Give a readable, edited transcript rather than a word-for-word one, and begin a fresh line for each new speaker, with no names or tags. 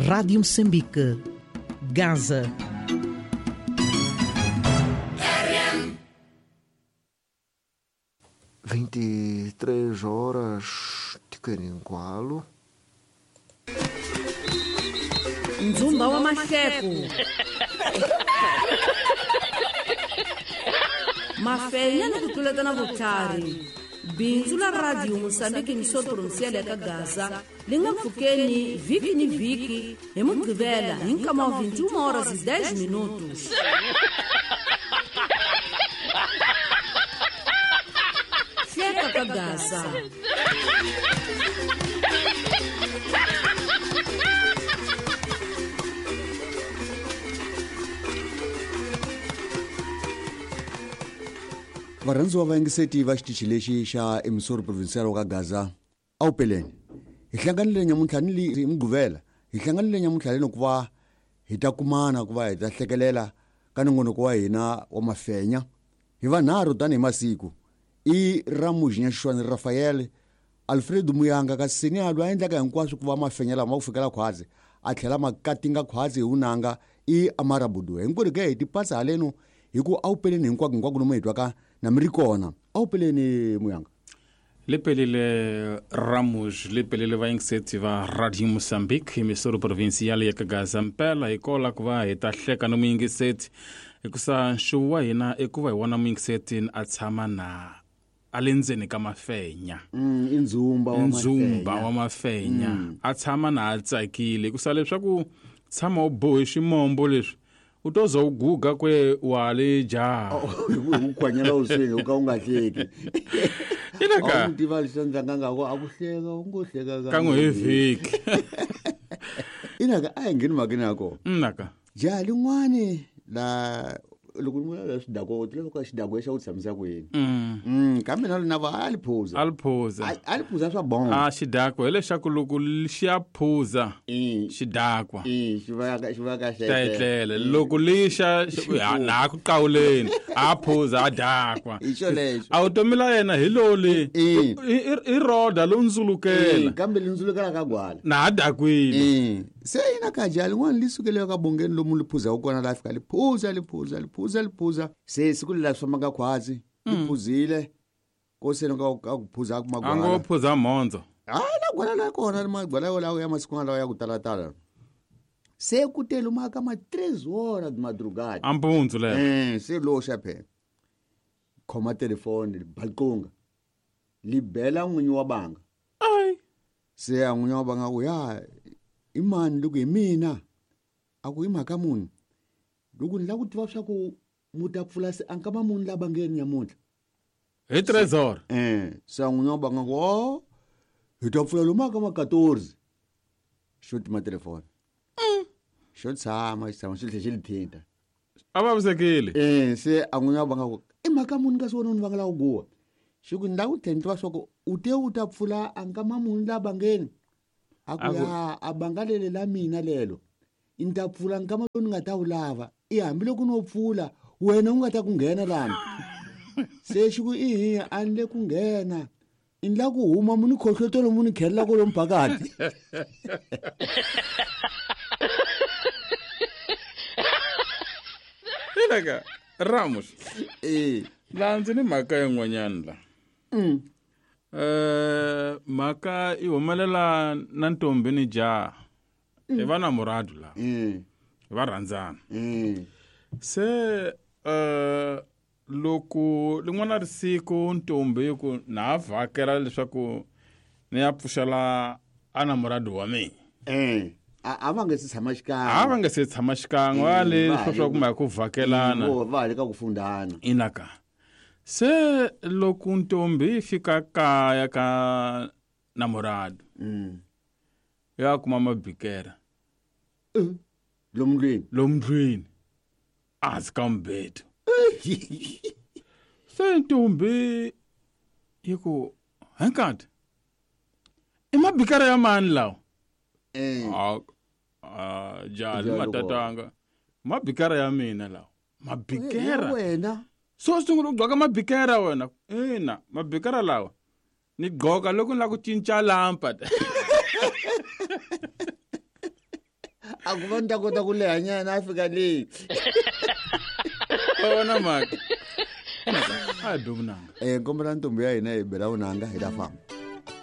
Rádio Moçambique, Gaza.
RM.
23 horas tikeningwalo.
Nzumba wa mahleko. Mafenya ni ku tluletana vutlhari. Bindzu la Radio Moçambique emissora provincial ya ka Gaza li nga pfukeni vhiki ni vhiki hi Mugqivela hi nkama wa 21 horas e 10 minutos. Hleka ka Gaza.
Varhandziwa va yingiseti va xitichi lexi xa emissora provincial wa ka Gaza a wu peleni hi hlanganile nyamuntlha ni li hi Mugqivela hi hlanganile nyamuntlha leni ku va hi ta kumana ku va hi ta hlekelela ka nongonoko wa hina wa mafenya hi vanharhu tanihi masiku i Ramujinya Xixwani Rafael Alfredo Muyanga kasi Senialo a endlaka hinkwaswo ku va mafenya lama ku fikela khwazi a tlhela ma katinga khwazi hi vunanga i Amara Buduwe hinkwerhu ke hi tipatsa haleno hi ku a wu peleni hinkwako hinkwako lomu hi twaka na mi ri kona a wu peleni Muyanga.
Li pelile Ramuj li pelile vayingiseti va Radio Moçambique emissora provincial ya ka Gaza mpela hi kola ku va hi ta hleka no muyingiseti hikusa nxuvu wa hina i ku va hi vona muyingiseti a tshama na a le ndzeni ka mafenya.
I ndzumba wa
ndzumba wa mafenya. A tshama na a tsakile hikusa leswaku tshama u bohe ximombo leswi u to za u guga kwe wa le jaha
u khwanyela u swini u ka u nga hleki
ilaka
u tiva leswi endlaka nga ku a ku hleka u ngo hleka
kan'we hi vhiki
inaka a hi ngheni mhakeni ya kona
naka
jaha lin'wani la loko ni vula xidako u tiva ka xidako xa ku tshamisa ku yini kambe na lona va a li phuza
a li phuza
a li phuza swa bongo
a xidako hileswaku loko xi ya phuza xidakwa
xi va xi va ka
ta etlela loko lixa na ku qawuleni a phuza a dakwa
hi xolexo
a vutomi la yena hi loli i roda lo ndzulukela
kambe li ndzulukela ka gwala
na a dakwile
se yina ka jaha lin'wana li sukele ka bongeni lomu li phuzaka kona la fika li phuza li phuza li phuza li phuza se siku lela swi fambaka khwazi li phuzile ko se ka ku phuza ku magwala
a ngo phuza mhondzo
hayi la gwala la kona magwala yolawo ya masiku lawa ya ku talatala se ku te lomu ka ma 3 horas de madrugada
a mpundzu lero
se loxa phela khoma telefoni li balqunga li bela n'winyi wa banga
ai
se a n'winyi wa banga ku ya i mani loko hi mina a ku i mhaka muni loko ni lava ku tiva swa ku mu ta pfula se a nkama muni la bangeni nyamuntlha
hi trezor
se a n'winyi wa banga ku o hi ta pfula lomu ka ma 14 xo tima telefoni xo tshama xi tshama xi tlhela xi li thinta
a vavisekile
se a n'winyi wa banga ku i mhaka muni kasi wena u ni vangela ku guwa xi ku ni lava ku tlhela ni tiva swa ku u te u ta pfula a nkama muni la bangeni a ku ya a banga lele la mina lelo ni ta pfula nkama lowu ni nga ta wu lava i hambiloko no pfula wena u nga ta ku nghena lani se xi ku ihi a ni le ku nghena ni la ku huma mu ni khohlotelo mu ni khelela kolomu phakati
ilaka Ramos la ndzi ni mhaka yin'wanyana la mhaka i humelela na ntombi ni jaha hi va na muradu la va rhandzana se loko lin'wana ri siku ntombi ku na vhakela leswaku ni ya pfuxela a na muradu wa mina
a va nga se tshama xikan'we
a va nga se tshama xikan'we a le swa kuma hi ku vhakelana
va ha le ka ku fundana
inaka se loko ntombi yi fika kaya ka namorado ya kuma mabikera
lomu ndlwini
lomu ndlwini ehansi ka mubedo se ntombi yi ku hinkati i mabikera ya mani lawa jali matatanga mabikera ya mina lawa mabikera
wena
so sungula u gqoka mabikera wena ina mabikera lawa ni gqoka loko ni lava ku cinca lampa.
A ku va ni ta kota ku lehanyana a fika leyi.
Vona mhaka, a hi be vunanga.
Um kombela ntombi ya hina hi bela vunanga, hi ta famba.